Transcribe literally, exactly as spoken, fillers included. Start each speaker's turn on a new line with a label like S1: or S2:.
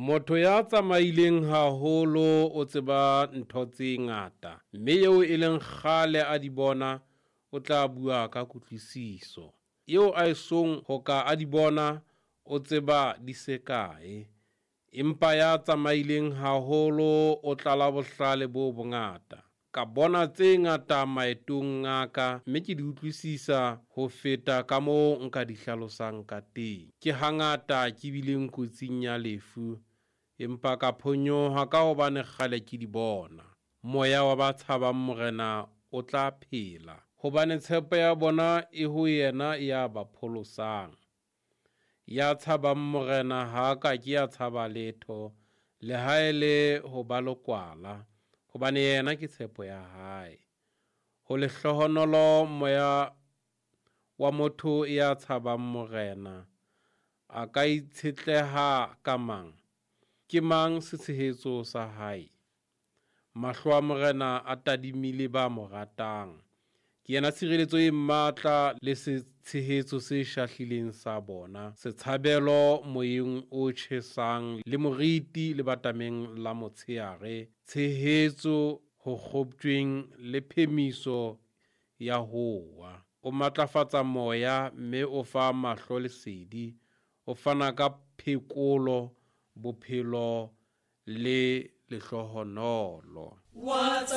S1: Motho ya tsamaileng haholo o tseba ntho tse ngata, mme eo e leng kgale a di bona o tla bua ka kutlwisiso. Eo a esong ho ka a di bona o tseba di se kae. Empa ya tsamaileng haholo o tlala bohlale bo bongata. Ka bona tse ngata maetong a ka, mme ke di utlwisisa ho feta kamoo nka di hlalosang ka teng. Ke hangata ke bileng kotsing ya lefu, empa ka phonyoha ka hobane kgale ke di bona. Moya wa ba tshabang Morena o tla phela, hobane tshepo ya bona e ho yena ya ba pholosang. Ya tshabang Morena ha a ka ke a tshaba letho, leha e le ho ba lekwala, hobane yena ke tshepo ya hae. Ho lehlohonolo moya wa motho ya tshabang Morena, a ka itshetleha ka mang? Ke mang setshehetso sa hae? Mahlo a Morena a tadimile ba mo ratang. Ke yena tshireletso e matla le setshehetso se shahlileng sa bona, setshabelo moyeng o tjhesang le moriti lebatameng la motsheare, tshehetso ho kgoptjweng le phemiso ya ho wa. O matlafatsa moya mme o fa mahlo lesedi, o fana ka phekolo, bophelo le lehlohonolo.
S2: Wa tsa